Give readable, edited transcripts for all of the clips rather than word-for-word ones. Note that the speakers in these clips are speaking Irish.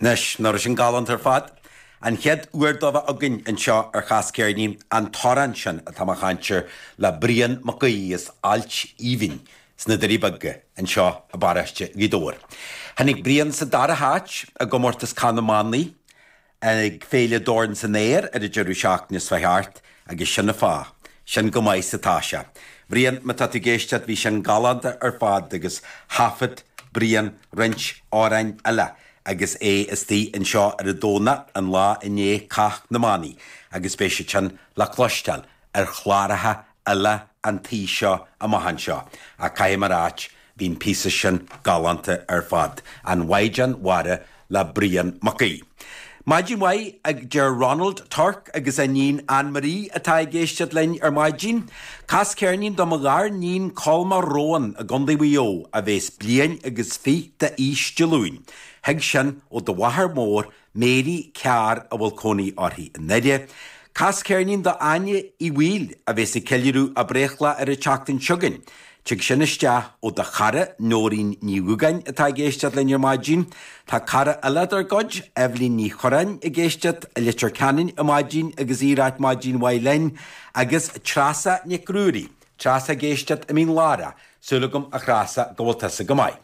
Anois, nach raibh sin galánta ar fad? An chéad uair dó bheith againn anseo ar Chas Ceirnín, an t-amhrán sin atá mé a chaint air le Brian Mac Aoidh as Ailt Aoibhinn sna Doirí Beaga anseo i bparóiste Ghaoth Dobhair. Tháinig Brian sa dara háit i gcomórtas Cath na mBannaí ag Féile Dorn san Aer ar an deireadh seachtaine seo thart agus sin an fáth. Sin go maith is atá sé. Bhriain, má tá tú ag éisteacht, bhí sin galánta ar fad agus thaifead Brian roinnt amhráin eile agus é istigh anseo ar an Domhnach, an lá i ndiaidh Cath na mBannaí, agus beidh siad sin le cloisteáil ar chláracha eile an tí seo amach anseo. Ach caithfidh mé a ráit, bhí an píosa sin galánta ar fad. An Mhaighdean Mhara le Brian Mac Aoidh. Maidin mhaith, a deir Ronald Turk agus a iníon Anne Marie atá ag éisteacht linn ar maidin. Cas ceirnín do mo ghariníon Colma Rowan i gContae Mhaigh Eo a bhéas bliain agus fiche d'aois Dé Luain. Thig sin ó do mháthair mhór Mary Carr a bhfuil cónaí uirthi i nDoire. Cas ceirnín do Áine Uí Bhaoill a bhéas ag ceiliúradh a breithlá ar an tseachtain seo chugainn. Tig sin isteach ó do chara Nóirín Ní Dhúgáin atá ag éisteacht linn ar maidin. Tá cara eile dár gcuid, Eibhlín Ní Churráin ag éisteacht i Leitir Ceanainn ar maidin agus í ag ráit maidin mhaith linn agus Treasa Nic Ruairí, Treasa ag éisteacht i Mín Lárach. Súil agam a Threasa go bhfuil tusa go maith.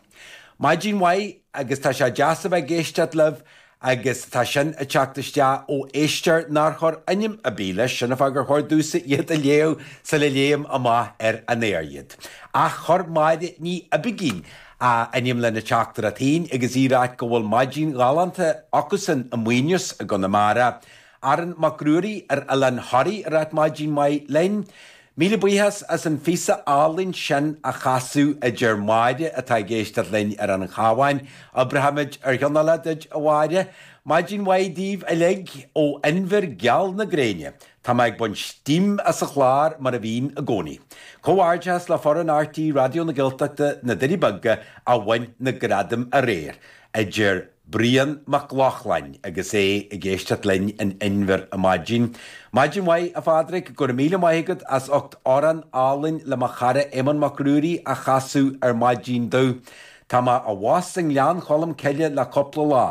Maidin mhaith agus tá sé deas a bheith ag éisteacht libh agus tá sin ag teacht isteach ó éisteoir nár chuir ainm ar bith leis, sin an fáth gur chóir domhsa iad a léamh sula léim amach ar an aer iad. Ach chuir Máire Ní Oibigín a ainm lena teachtaireacht féin agus í ag ráit go bhfuil maidin ghalánta acusan i Muíneas i gConamara. Aaron Mac Ruairí ar Oileán Thoraí ag ráit maidin mhaith linn. Míle buíochas as an phíosa álainn sin a chasadh, a deir Máire atá ag éisteacht linn ar an Chabhán. Oibreoimid ar cheann eile duit, a Mháire. Maidin mhaith daoibh uilig ó Inbhear geal na gréine. Tá mé ag baint steam as an chlár mar a bhím i gcónaí. Comhghairdeachas le foireann RTÉ Raidió na Gaeltachta, Na Doirí Beaga, a bhain na gradaim aréir, a deir Brian Mac Lochlainn agus é ag éisteacht linn in Inbhear ar maidin. Maidin mhaith, a Phádraig, go raibh míle maith agat as ucht amhrán álainn le mo chara Éamonn Mac Ruairí a chasadh ar maidin domh. Tá mé abhus i nGleann Cholm Cille le cúpla lá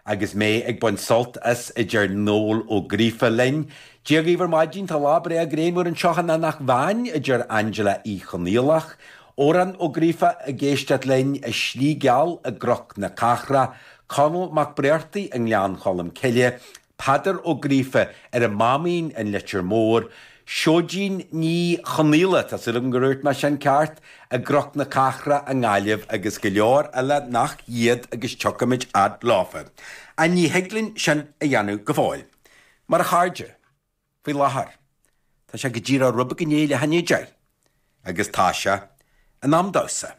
agus mé ag baint sult as, a deir Noel Ó Gríofa linn. Dia dhaoibh ar maidin, tá lá breá grianmhar anseo in Eanach Mheáin, a deir Angela Uí Chonfhaola. Odhrán Ó Gríofa ag éisteacht linn i Slí Geal i gCnoc na Cathrach, Conall Mac Bréartaigh i nGleann Cholm Cille, Peadar Ó Gríofa ar an Máimín in Leitir Móir, Seoidín Ní Chonaola, tá súil agam gur dhúirt mé sin ceart, i gCnoc na Cathrach i nGaillimh agus go leor eile nach iad agus tiocfaimid fhad leofa. Ach ní thig linn sin a dhéanamh go fóill. Mar a chairde. Faoi láthair, tá sé go díreach rud beag i ndiaidh leath i ndiaidh a 10 agus tá sé in am damhsa.